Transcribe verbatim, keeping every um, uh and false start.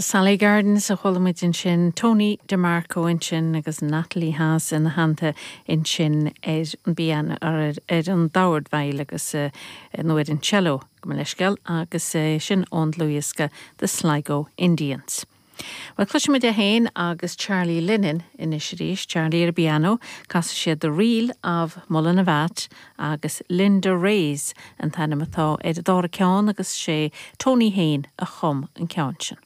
Sally Gardens a chuala muid ansin Tony DeMarco ansin agus Natalie Haas ina theannta ansin ar an bpianó ar, ar an dordveidhil agus uh, nó ar an cello go leisceil agus uh, sin ón dlúthdhiosca The Sligo Indians. Well cloisfimid é féin agus Charlie Lennon anois arís Charlie ar piano, casfaidh siad The Reel of Mullinavat agus Linda Ray's an t-ainm atá ar an dara ceann agus sé Tony féin a chum an ceann sin.